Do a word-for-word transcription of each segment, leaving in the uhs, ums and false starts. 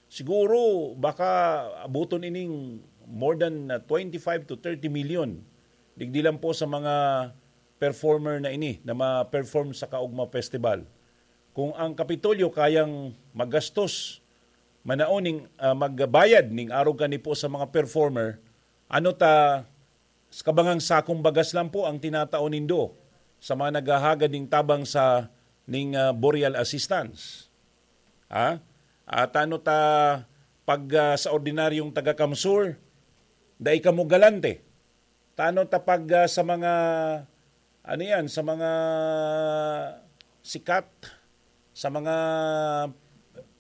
Siguro, baka abuton ining more than, ah, twenty-five to thirty million. Digdi lang po sa mga performer na ini na ma-perform sa Kaugma Festival. Kung ang Kapitolyo kayang magastos, manaon ning, ah, magbayad ning arog kani po sa mga performer, ano ta, sa kabangang sakong bagas lang po ang tinatao nindo sa mga naghahagad ning tabang sa, ning, ah, burial assistance? Ha? At ano ta pag, ah, sa ordinaryong taga-Kamsur, dai kamo galante? Tano ta pag, ah, sa mga, ano yan, sa mga sikat, sa mga,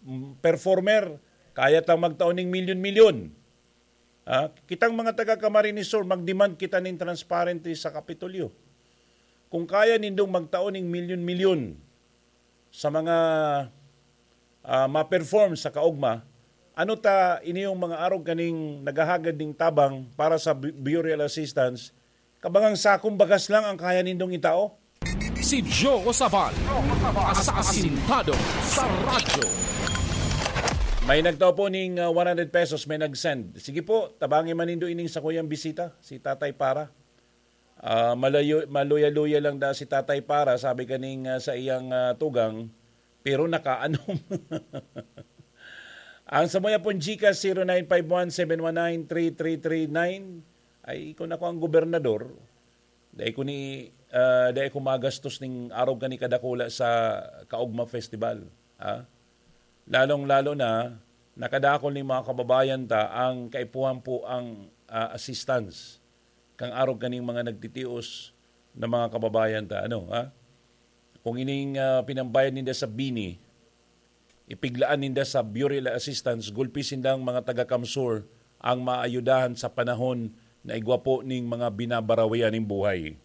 mm, performer, kaya tang magtao ning milyon-milyon. Ah, kitang mga taga Camarines Sur, mag-demand kita nin transparency sa Kapitolyo. Kung kaya nindong magtao ning milyon-milyon sa mga, ah, ma-perform sa Kaugma, ano ta ini yung mga arog kaning naghahagad ning tabang para sa bu-, burial assistance, kabangang sakong bagas lang ang kaya nindong itao? Si Joe Sabal, asasintado sa radyo. May nagtao po ning, ah, one hundred pesos, may nag-send. Sige po, tabangi man nindo ining sakuyang bisita, si Tatay Para. Ah, malayo, maluya-luya lang da si Tatay Para, sabi kaning, ah, sa iyang, ah, tugang, pero nakaanom. Ang samuya pong GCash, zero nine five one seven one nine three three three nine. Ay, kung ako ang gobernador, dai ko ni, ah, dai ko magastos ning arog kani kadakula sa Kaugma Festival, ha? Lalong-lalo na, nakadakol ning mga kababayan ta ang kaipuhan po ang, ah, assistance kan arog kaning mga nagtitios na mga kababayan ta, ano, ha? Kung ining, ah, pinambayad ninda sa bini, ipiglaan ninda sa burial assistance, gulpi sindang mga taga-Kamsur ang maayudahan sa panahon na igwa po ning mga binabarawian ning buhay.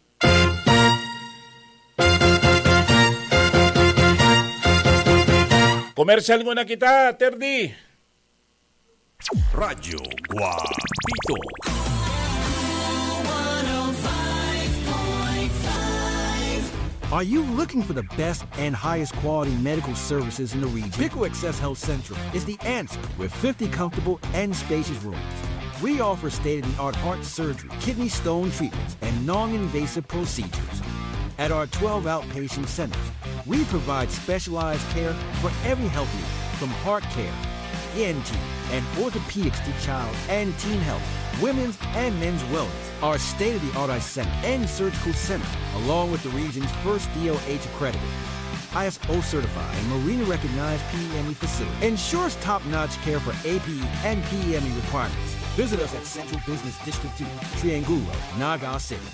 Komersyal muna kita, Terdi. Radyo Guapito. Are you looking for the best and highest quality medical services in the region? Pico Access Health Central is the answer with fifty comfortable and spacious rooms. We offer state-of-the-art heart surgery, kidney stone treatments, and non-invasive procedures. At our twelve outpatient centers, we provide specialized care for every health need, from heart care, E N T, and orthopedics to child and teen health, women's and men's wellness. Our state-of-the-art eye center and surgical center, along with the region's first D O H accredited, I S O certified, and Marina recognized P E M E facility, ensures top-notch care for A P E and P E M E requirements. Visit us at Central Business District two, Triangulo, Naga City.